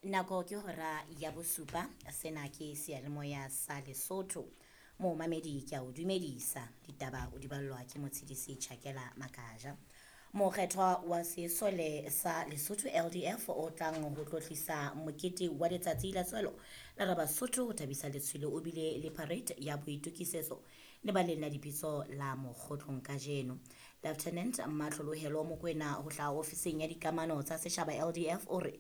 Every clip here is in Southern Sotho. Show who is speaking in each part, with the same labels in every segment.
Speaker 1: Nako ke hora ya bosupa. Sena ke seyalemoya sa Lesotho. Momamedi ke a o dumedisa. Ditaba o di ballwa ke Motshedisi Chakela Makaja. Mokgethwa wa sesole sa Lesotho LDF o tlang ho tlotlisa mokete wa letsatsi la tswalo la Rabasotho ho thabisa letshwele o bile le parade ya boitokisetso lebaleng la dipitso la Mokgotlong kajeno. Lieutenant Matlholohelo Mokwena ho hlaha ofising ya dikamano tsa setjhaba LDF o re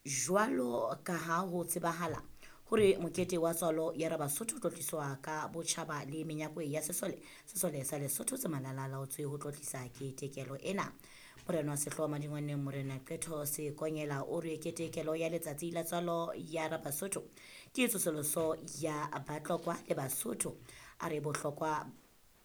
Speaker 1: jwalo ka ha ho tsebahala hore mokete wa tswalo ya Rabasotho o tlotliswa ka botjhaba le menyakwe ya sesole, sesole sa Lesotho se malala laotswe ho tlotlisa ketekelo ena. Morena wa sehlooho Madingwaneng Morena Qetho Sekonyela o re ketekelo ya letsatsi la tswalo ya Rabasotho ke tsosoloso ya Batlokwa le Basotho. A re bohlokwa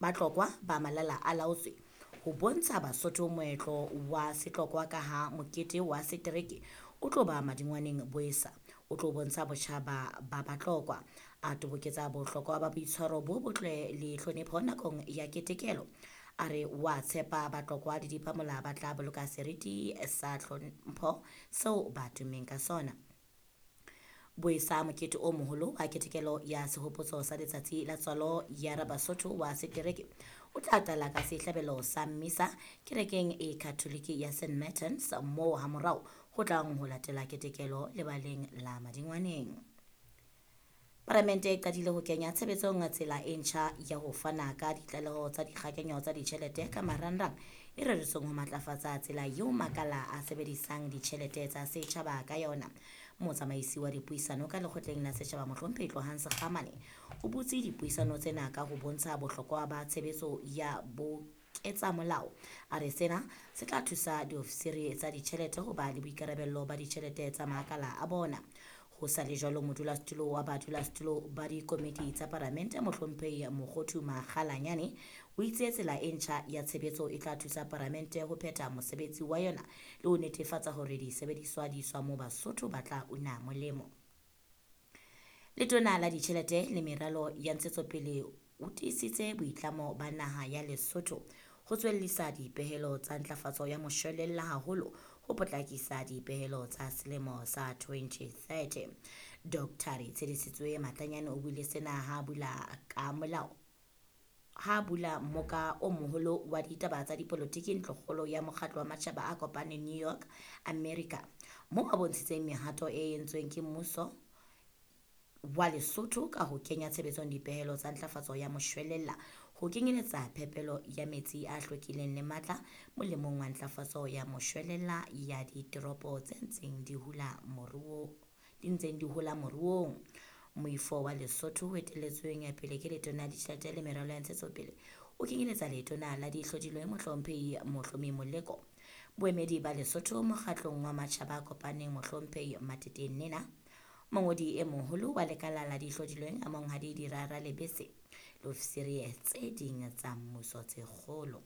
Speaker 1: Batlokwa ba malala a laotswe ho bontsha Basotho moetlo wa setlokwa ka ha mokete wa setereke o tlo ba Madingwaneng Boesa o tlo bontsha botjhaba ba Batlokwa. A toboketsa bohlokwa ba boitshwaro bo botle le tlhonepho nakong ya ketekelo. A re wa tshepa Batlokwa le Diphamola ba tla boloka seriti sa tlhompho seo ba tummeng ka sona. Boesa mokete o moholo wa ketekelo ya sehopotso sa letsatsi la tswalo ya Rabasotho wa setereke o tla qala ka sehlabelo sa mmisa kerekeng e Katholike ya St Martins moo hamorao ho tlang ho latela ketekelo lebaleng la Madingwaneng. Palamente e qadile ho kenya tshebetsong tsela e ntjha ya ho fana ka ditlaleho tsa dikgakenyo tsa ditjhelete ka marangrang e reretsweng ho matlafatsa tsela eo makala a sebedisang ditjhelete tsa setjhaba ka yona. Motsamaisi wa dipuisano ka lekgotleng la setjhaba Mohlomphehi Tlohang Sekgamane o butse dipuisano tsena ka ho bontsha bohlokwa ba tshebetso ya ketsa molao. A re sena se tla thusa diofisiri tsa ditjhelete ho ba le boikarabello ba ditjhelete tsa makala a bona. Ho sa le jwalo, modulasetulo wa badulasetulo ba dikomiti tsa palamente Mohlomphehi Mokgothu Makgalanyane o itse tsela e ntjha ya tshebetso e tla thusa palamente ho phetha mosebetsi wa yona le ho netefatsa hore disebediswa di iswa moo Basotho ba tla una molemo. Letona la ditjhelete le meralo ya ntshetsopele o tiisitse boitlamo ba naha ya Lesotho ho tswellisa dipehelo tsa ntlafatso ya moshwelella haholo ho potlakisa dipehelo tsa selemo sa 2030. Dr. Tshedisitswe Matlanyane o buile sena ha bula ka molao ha bula mmoka o moholo wa ditaba tsa dipolotiki ntlokgolo ya mokgatlo wa matjhaba a kopaneng New York, America, moo a bontshitseng mehato e entsweng ke mmuso wa Lesotho ka ho kenya tshebetsong dipehelo tsa ntlafatso ya moshwelella ho kenyeletsa phepelo ya metsi a hlwekileng le matla molemong wa ntlafatso ya moshwelella ya ditoropo tse ntseng di hula moruo di ntseng di hola moruong. Moifo wa Lesotho o etelletsweng pele ke letona la ditjhelete le meralo ya ntshetsopele o kenyeletsa letona la dihlodilweng Mohlomphehi Mohlomi Moleko, boemedi ba Lesotho mokgatlong wa matjhaba a kopaneng Mohlomphehi Matete Nena, mongodi e moholo wa lekala la dihlodilweng a Monghadi Dirara Lebese le ofisiri tse ding tsa mmuso tse kgolo.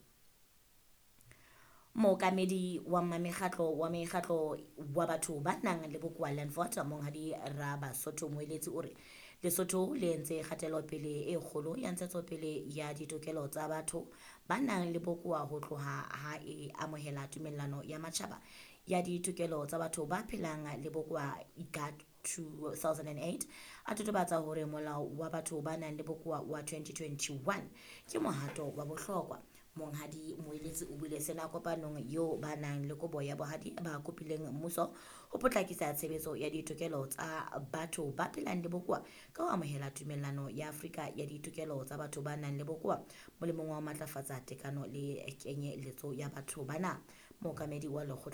Speaker 1: Mookamedi wa mekgatlo wa mekgatlo wa batho ba nang le bokowa Landford Monghadi Rabasotho Moeletsi o re Lesotho le entse kgatelopele e kgolo ya ntshetsopele ya ditokelo tsa batho ba nang le bokowa ho tloha ha e amohela tumellano ya matjhaba ya ditokelo tsa batho ba phelang le bokowa IGAD 2008. A totobatsa hore molao wa batho ba nang le bokowa wa 2021 ke mohato wa bohlokwa. Monghadi Moeletsi o buile sena kopanong eo ba nang le kobo ya bohadi ba kopileng mmuso ho potlakisa tshebetso ya ditokelo tsa batho ba phelang le bokowa ka ho amohela tumellano ya Afrika ya ditokelo tsa batho ba nang le bokowa molemong wa ho matlafatsa tekano le kenyeletso ya batho bana. Mookamedi wa lekgotla